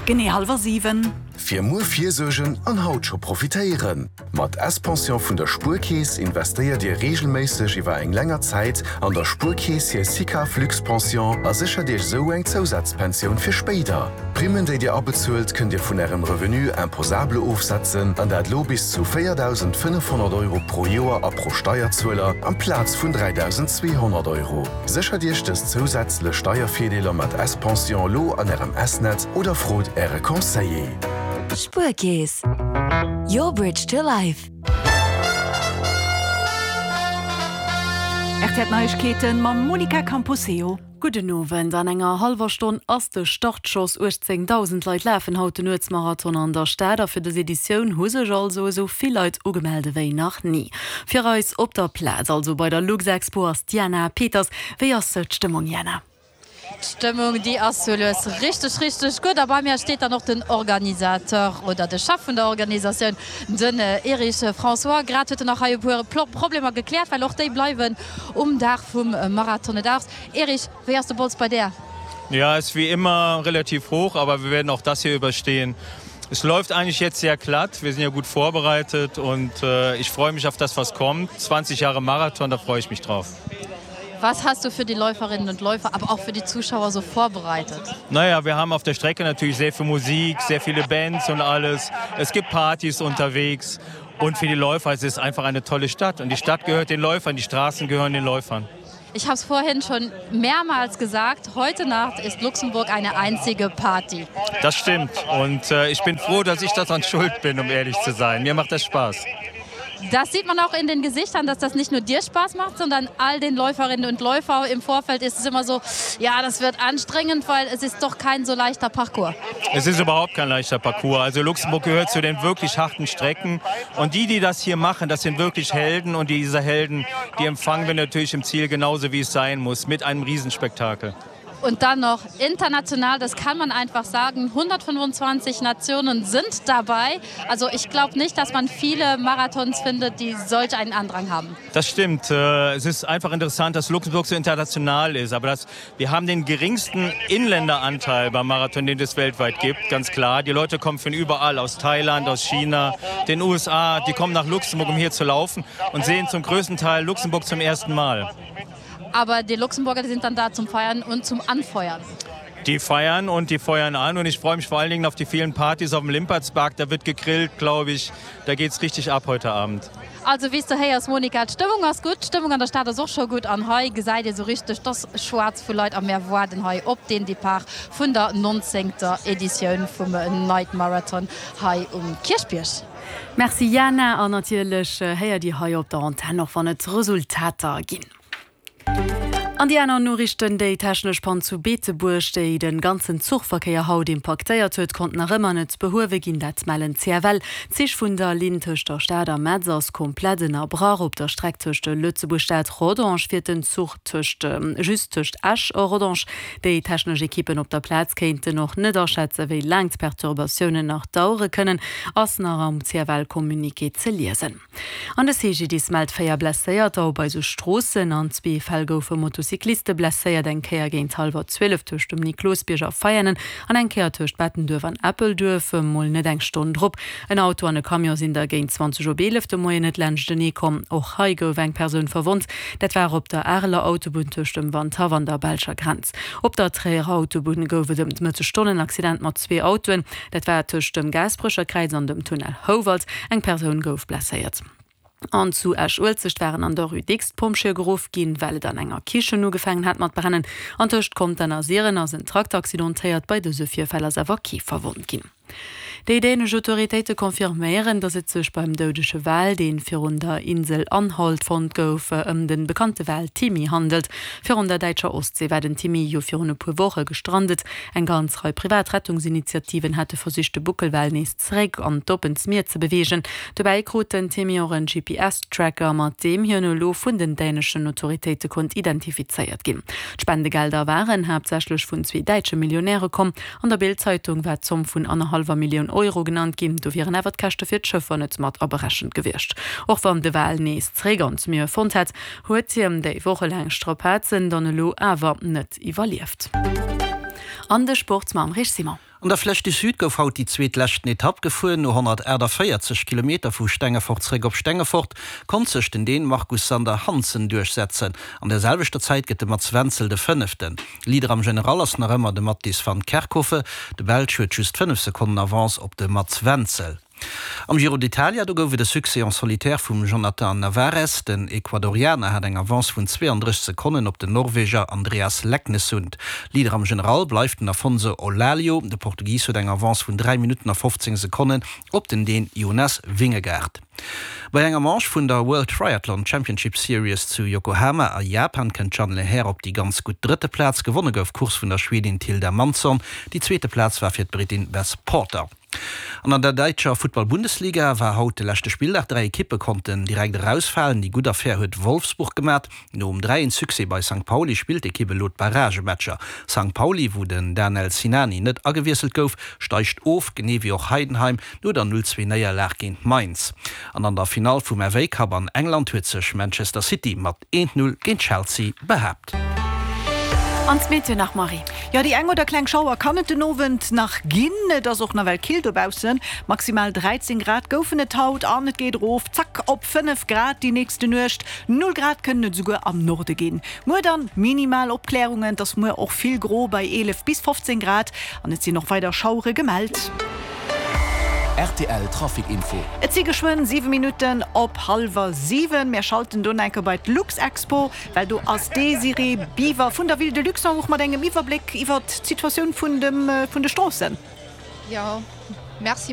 Genee hallwer 7. Fir muer virsuergen an haut scho profitéieren! Mat S-Pension vun der Spuerkeess investéiert Dir reegelméisseg iwwer eng länger Zäit an der Spuerkeess hir SICAV Luxpension a séchert Iech esou eng Zousazpensioun fir spéider. D'Primmen déi Dir abezuelt kënnt Dir vun Ärem Revenu imposable ofsetzen an dat lo bis zu 4.500 Euro pro Joer a pro Steierzueler amplaz vun 3.200 Euro. Séchert Iech dës zousätzlech Steiervirdeeler mat S-Pension elo an Ärem S-Netz oder frot Äre Conseiller. Spuerkeess, your bridge to life. Rtl Neiegkeeten mam Monica Camposeo. Gudden Owend. An enger hallwer Stonn ass de Startschoss. 18.000 Leit lafen haut den Nuetsmarathon an der Stad a fir dës Editioun hu sech also esou vill Leit ugemellt ewéi nach ni. Fir eis op der Plaz, also bei der Luxexpo, ass d'Jana Peters. Wéi ass d'Stëmmung, Jana? D'Stëmmung, déi ass sou lues richteg, richteg gutt. A bei mir steet dann och den Organisateur oder de Chef vun der Organisatioun, den Erich François. Grad huet en nach hei e puer Problemer gekläert, well och déi bleiwen um Dag vum Marathon. Et ass Erich, wéi ass de Bols bei där? Ja, ist wie immer relativ hoch, aber wir werden auch das hier überstehen. Es läuft eigentlich jetzt sehr glatt. Wir sind ja gut vorbereitet und äh, ich freue mich auf das, was kommt. 20 Jahre Marathon, da freue ich mich drauf. Was hast du für die Läuferinnen und Läufer, aber auch für die Zuschauer so vorbereitet? Naja, wir haben auf der Strecke natürlich sehr viel Musik, sehr viele Bands und alles. Es gibt Partys unterwegs und für die Läufer es ist einfach eine tolle Stadt und die Stadt gehört den Läufern, die Straßen gehören den Läufern. Ich habe es vorhin schon mehrmals gesagt, heute Nacht ist Luxemburg eine einzige Party. Das stimmt und äh, ich bin froh, dass ich daran schuld bin, um ehrlich zu sein. Mir macht das Spaß. Das sieht man auch in den Gesichtern, dass das nicht nur dir Spaß macht, sondern all den Läuferinnen und Läufer im Vorfeld ist es immer so, ja, das wird anstrengend, weil es ist doch kein so leichter Parcours. Es ist überhaupt kein leichter Parcours. Also Luxemburg gehört zu den wirklich harten Strecken und die, die das hier machen, das sind wirklich Helden und diese Helden, die empfangen wir natürlich im Ziel genauso wie es sein muss mit einem Riesenspektakel. Und dann noch international, das kann man einfach sagen, 125 Nationen sind dabei. Also ich glaube nicht, dass man viele Marathons findet, die solch einen Andrang haben. Das stimmt. Äh, es ist einfach interessant, dass Luxemburg so international ist. Aber das, wir haben den geringsten Inländeranteil beim Marathon, den es weltweit gibt, ganz klar. Die Leute kommen von überall, aus Thailand, aus China, den USA. Die kommen nach Luxemburg, um hier zu laufen und sehen zum größten Teil Luxemburg zum ersten Mal. Aber die Luxemburger die sind dann da zum Feiern und zum Anfeuern. Die feiern und die feuern an und ich freue mich vor allen Dingen auf die vielen Partys auf dem Limpertsberg. Da wird gegrillt, glaube ich. Da geht es richtig ab heute Abend. Also wéi s de héiers Monica, d'Stëmmung ass gutt, d'Stëmmung an der Stad ass och scho gutt an hei gesäit ee sou richteg, dass schwaarz vu Leit a mär waarden hei op den Depart vun der nonzéngter Editioun vum Night Marathon hei um Kierchbierg. Merci Jana, an natierlech héiert Dir hei op der Antenn och wann et Resultater ginn. An déi aner Noriichten, Déi technesch Pann zu Beetebuerg, déi de ganzen Zuchverkéier haut impaktéiert huet, konnt nach ëmmer net behuewe ginn. Dat mellen d'CFL. D'Zich vun der Linn tëscht der Stad a Metz ass komplett ënnerbrach. Op der Streck tëscht Lëtzebuerg-Stad, Rodange fiert den Zuch tëscht just tëscht Esch a Rodange. Déi technesch Ekippen op der Plaz kéinten och net aschätzen, wéi laang d'Perturbatiounen nach dauere kënnen, ass nach am CFL-Communiqué ze liesen. An de CGDIS mellt 4 Blesséierter op eise Stroossen. An zwee Fäll goufe Motocycliste blesséiert, eng Kéier géint hallwer 12 tëscht dem Niklosbierg a Veianen an eng Kéier tëscht Bettenduerf an Eppelduerf, mol net eng Stonn drop. En Auto an e Camion sinn da géint 20 op 11 de Moien net laanschtenee komm. Och hei gouf eng Persoun verwonnt. Dat war op der Areler Autobunn tëscht dem Wandhaff an der belscher Grenz. Op der Tréierer Autobunn gouf et ëm d'Mëttesstonn en Accident mat zwee Autoen. Dat war tëscht dem Gaasperecher Kräiz an dem Tunnel Houwald. Eng Persoun gouf blesséiert. An zu Esch-Uelzecht waren an der Rue Dicks d'Pompjeeë geruff ginn, well et an enger Kichen ugefaangen hat mat brennen. An tëscht Contern a Siren ass en Trakter accidentéiert. Bei dëse Virfäll ass awer kee verwonnt ginn. Déi dänesch Autoritéite confirméieren, datt et sech beim doudege Wal, dee virun der Insel Anholt fonnt gouf, ëm de bekannte Wal Timmy handelt. Virun der däitscher Ostsee war den Timmy jo virun e puer Woche gestrandet. Eng ganz Rei privat Rettungsinitiativen hate versicht, de Buckelwal nees zeréck an d'oppent Mier ze beweegen. Dobäi krut den Timmy och en GPS-Tracker, mat deem hien elo vun den däneschen Autoritéite konnt identifizéiert ginn. D'Spendegelder waren haaptsächlech vun zwee däitsche Millionäre komm. An der Bild-Zeitung war d'Zomm vun annerhallwer Millioun Euro genannt ginn. Do wieren awer d'Käschte fir d'Schëffer net mat aberechent gewiescht. Och wann de Wal nees zeréck an d'Mier fonnt hätt, huet hien déi wochelaang Strapazen dann elo awer net iwwerlieft. An de Sport mam Rich Simon. An der Flèche du Sud gouf haut déi zweet leschten Etapp gefuer. No 148 Kilometer vu Stengefort zeréck op Stengefort konnt sech den Dän Markus Sander Hansen duerchsetzen. An der selwechter Zäit gëtt de Mats Wenzel de Fënneften. Leader am General ass nach ëmmer de Mattis van Kerkhove. De Belsch huet just 5 Sekonnen Avance op de Mats Wenzel. Am Giro d'Italia, do gouf et e Succès en solitaire vum Jhonatan Narvaez. Den Ecuadorianer hat eng Avance vun 32 Sekonnen op den Norweger Andreas Leknessund. Leader am General bleift den Afonso Eulalio. De Portugis huet eng Avance vun 3 Minutten a 15 Sekonnen op den Dän Jonas Vingegaard. Bei enger Manche vun der World Triathlon Championship Series zu Yokohama a Japan kënnt d'Jeanne Lehair op déi ganz gutt drëtte Plaz. Gewonne gouf d'Course vun der Schwedin Tilda Mansson. Déi zweete Plaz war fir d'Britin Beth Porter. An an der däitscher Futtball-Bundesliga war haut de leschte Spilldag. 3 Ekippe konnten direkt erausfalen. Déi gutt Affär huet Wolfsburg gemat. Nom 3 een Succès bei Sankt Pauli spillt d'Ekipp elo d'Barragematcher. Sankt Pauli, wou den Danel Sinani net agewiesselt gouf, steigt of, genee wéi och Heidenheim no der 0 2 Néierlag géint Mainz. An an der Finall vum FA Cup an England huet sech Manchester City mat 1 0 géint Chelsea behaapt. An d'Meteo nach, Marie? Jo, déi eng oder kleng Schauer kann et den Owend nach ginn. Et ass och nawell kill dobaussen, maximal 13 Grad goufen et haut an et geet erof, zack, op 5 Grad déi nächste Nuecht. Null Grad kënnen et esouguer am Norde ginn. Muer dann minimal Opklärungen, et ass muer och vill gro bei 11 bis 15 Grad an et sinn och weider Schauere gemellt. Rtl Trafic Info. Et si geschwënn 7 Minutten op hallwer 7. Mär schalten do enke bei d'Luxexpo, well do ass d'Désirée Biver vun der Ville de Luxembourg mat engem Iwwerbléck iwwert d'Situatioun vun de Stroossen. Jo, merci.